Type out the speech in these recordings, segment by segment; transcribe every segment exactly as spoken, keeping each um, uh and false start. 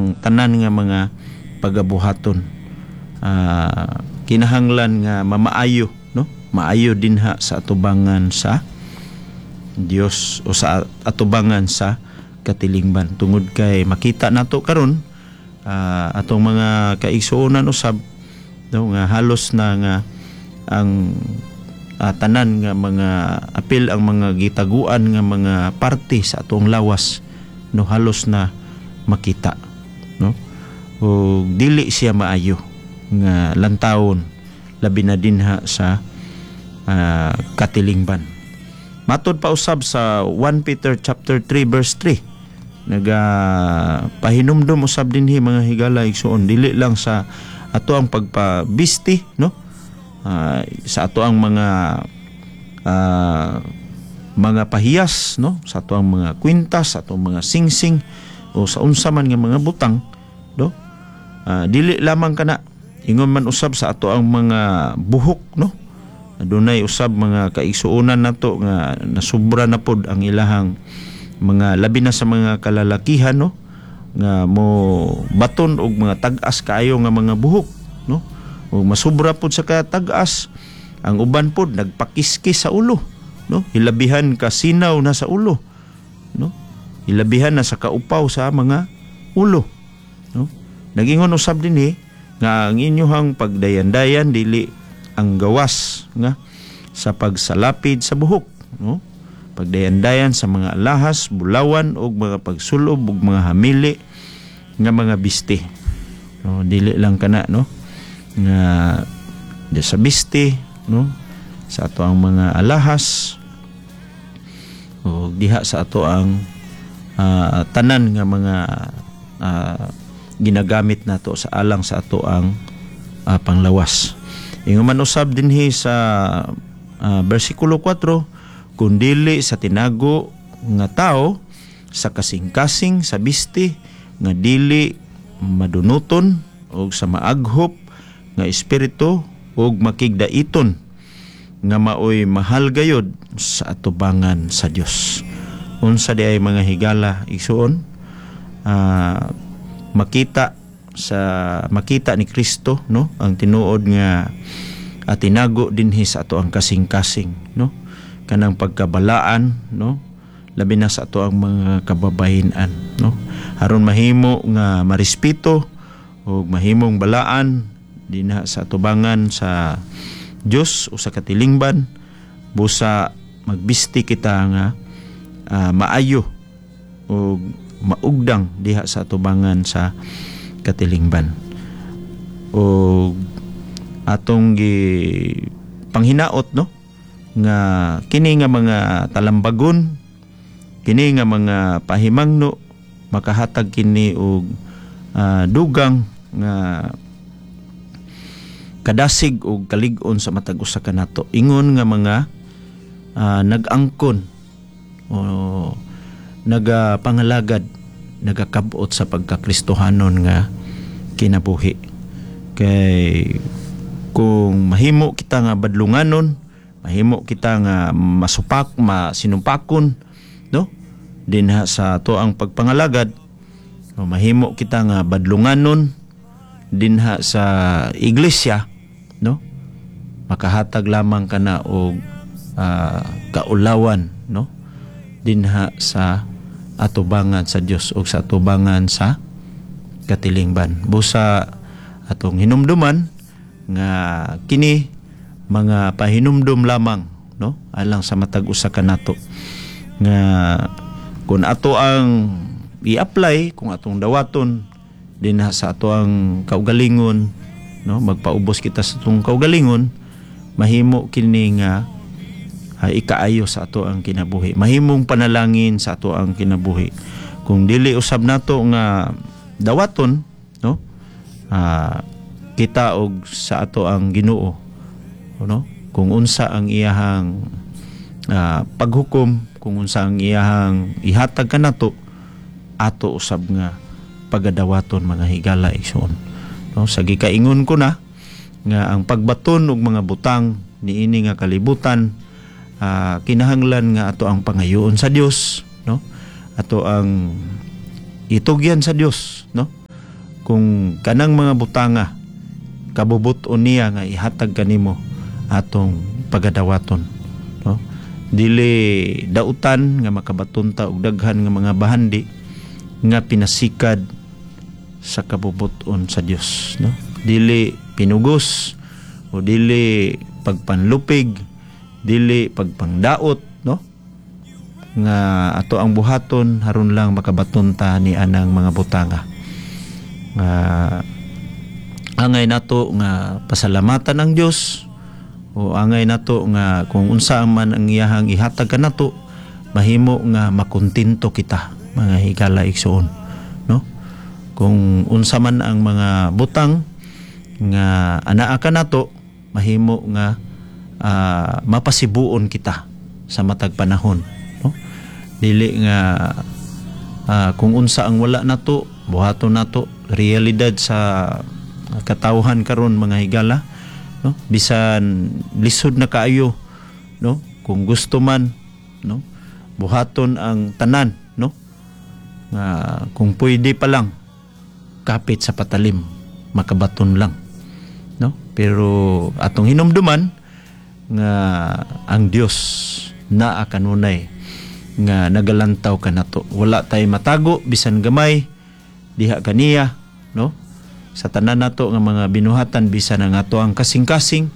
ang tanan nga mga pagabuhaton. Ah, kinahanglan nga mamaayo, no? Maayo dinha sa atubangan sa Dios o sa atubangan sa katilingban, tungod kay makita nato karon, ah, atong mga kaigsuonan usab, no, nga halos na nga ang ah, tanan nga mga apil, ang mga gitaguan nga mga parte sa atong lawas, no, halos na makita, no? O dili siya maayo nga lantawon, labi na dinha sa ah, katilingban. Matod pa usab sa First Peter chapter three verse three, naga pahinumdum usab dinhi, mga higala, igsuon, dili lang sa ato ang pagpabisti, no, Ah, sa ato ang mga ah, mga pahiyas, no, sa ato ang mga kwintas, sa atong mga singsing o sa unsa man nga mga butang, no. Ah, dili lamang kana, ingon man usab sa ato ang mga buhok, no. Adunay usab mga kaigsuonan nato nga nasubra na pod ang ilahang mga, labi na sa mga kalalakihan, no, nga mo baton og mga tag-as kaayo nga mga buhok, no, ug masubra pod sa katag-as. Ang uban pod nagpakiskis sa ulo, no, hilabihan kasinaw na sa ulo, no, hilabihan na sa kaupaw sa mga ulo, no. Nagingon usab dinhi nga ang inyohang pagdayan-dayan dili ang gawas nga sa pagsalapid sa buhok, no, pagdayan-dayan sa mga alahas, bulawan ug mga pagsulob ug mga hamili nga mga bisti, no. Dili lang kana, no, nga di sa bisti, no, sa ato ang mga alahas o diha sa ato ang ah, tanan nga mga ah, ginagamit nato sa alang sa ato ang ah, panglawas. Ingon man usab dinhi sa ah, bersikulo kuwatro, kun dili sa tinago nga tao, sa kasing-kasing sa bisti nga dili madunuton og sa maaghop nga espiritu ug makigdaiton nga maoy mahal gayod sa atubangan sa Dios. Unsa di ay, mga higala, igsuon, ah, makita sa makita ni Kristo, no, ang tinuod nga at tinago dinhi sa ato ang kasing-kasing, no, kanang pagkabalaan, no, labi na sa ato ang mga kababahinan, no, aron mahimo nga marespeto ug mahimong balaan dinha sa atubangan sa Dios o sa katilingban. Busa magbisti kita nga ah, maayo ug maugdang diha sa atubangan sa katilingban ug atong gi panghinaot, no, nga kini nga mga talambagon, kini nga mga pahimangno, makahatag kini og ah, dugang nga kadasig og kalig-on sa matag usa kanato ingon nga mga ah, nag-angkon o nagapangalagad, nagakabot sa pagkakristohanon nga kinabuhi. Kay kung mahimo kita nga badlunganon, mahimo kita nga masupak, masinumpakon, no, dinha sa ato ang pagpangalagad, o mahimo kita nga badlunganon dinha sa iglesia, no, makahatag lamang kana og ah, kaulawan, no, dinha sa atubangan sa Dios o sa atubangan sa katilingban. Busa atong hinumduman nga kini mga pahinumdum lamang, no, alang sa matag usa kanato nga kung ato ang i-apply, kung atong dawaton dinha sa ato ang kaugalingon, no, magpaubos kita sa atong kaugalingon, mahimo kini nga uh, ikaayo sa ato ang kinabuhi, mahimong panalangin sa ato ang kinabuhi. Kung dili usab nato nga dawaton, no, uh, kita og sa ato ang Ginoo, no, kung unsa ang iyahang uh, paghukom, kung unsa ang iyahang ihatag kanato, ato usab nga pagadawaton, mga higala, igsoon, no. Sa gikaingon ko na nga ang pagbaton og mga butang niini nga kalibutan, uh, kinahanglan nga ato ang pangayoon sa Dios, no, ato ang itugyan sa Dios, no. Kung kanang mga butanga kabubut-on niya nga ihatag kanimo, atong pagadawaton, no? Dili dautan nga makabaton ta og daghan nga mga bahandi nga pinasikad sa kabubut-on sa Dios, no? Dili pinugos o dili pagpanlupig, dili pagpangdaot, no, nga ato ang buhaton haron lang makabaton ta ni anang mga butanga. Nga angay nato nga pasalamatan ang Dios o angay nato nga kung unsa man ang iyahang ihatag kanato, mahimo nga makontento kita, mga higala igsuon, no? Kung unsa man ang mga butang nga anaa kanato, mahimo nga ah, mapasibuon kita sa matag panahon, no? Dili nga ah, kung unsa ang wala nato, buhaton nato. Realidad sa katawhan karon, mga higala, no? Bisan lisod na kaayo, no, kung gusto man, no, buhaton ang tanan, no, nga kung pwede pa lang kapit sa patalim makabaton lang, no? Pero atong hinumduman nga ang Dios naa kanunay nga nagalantaw kanato. Wala tay matago bisan gamay diha kaniya, no, sa tanan nato nga mga binuhatan, bisan ang ato ang kasing-kasing,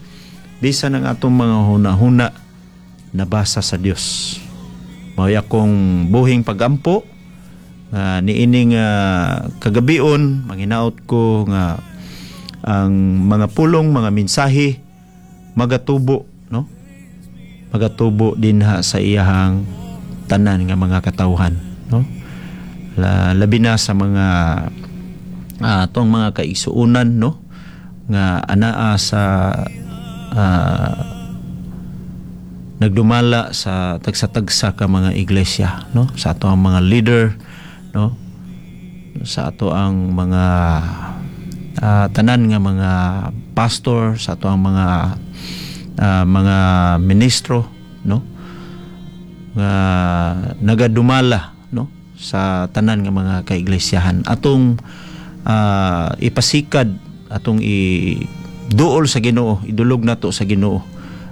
bisan ang atong mga huna-huna, nabasa sa Dios. Mao akong buhing pagampo nga niining uh, kagabion, manghinaot ko nga ang mga pulong, mga mensahe magatubo, no, magatubo dinha sa iyahang tanan nga mga katawhan, no? La, labi na sa mga uh, atong mga kaigsuonan, no, nga anaa sa uh, nagdumala sa tagsa-tagsa ka mga iglesia, no, sa ato ang mga leader, no, sa ato ang mga uh, tanan nga mga pastor, sa ato ang mga uh, mga ministro, no, nga nagadumala, no, sa tanan nga mga kaiglesiyahan. Atong uh, ipasikad, atong iduol sa Ginoo, idulog nato sa Ginoo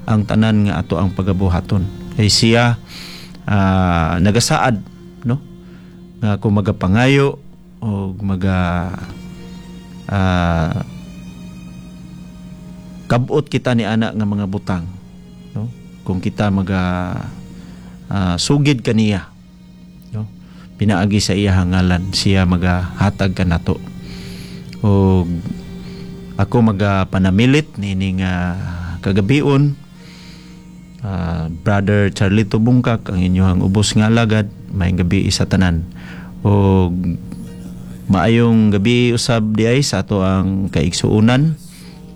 ang tanan nga ato ang pagabuhaton, kay siya uh, nagasaad, no, nga kung magapangayo o maga uh, kabot kita ni ana nga mga butang, no, kung kita maga uh, sugid kaniya, no, pinaagi sa iyahang ngalan, siya magahatag kanato. O ako magapanamilit niining uh, kagabion, uh, Brother Charlito Bungkak, ang inyong ubos nga alagad. Maayong gabi sa tanan o maayong gabi usab diay sa ato ang kaigsuonan,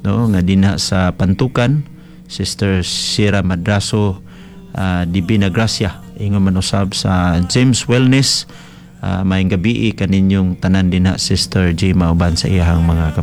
no, nga dinha sa Pantukan, Sister Sira Madraso, uh, Divina Gracia, ingon man usab sa James Wellness. Uh, maayong gabi kaninyong tanan dinha, Sister Jima uban sa iyahang mga kabataan.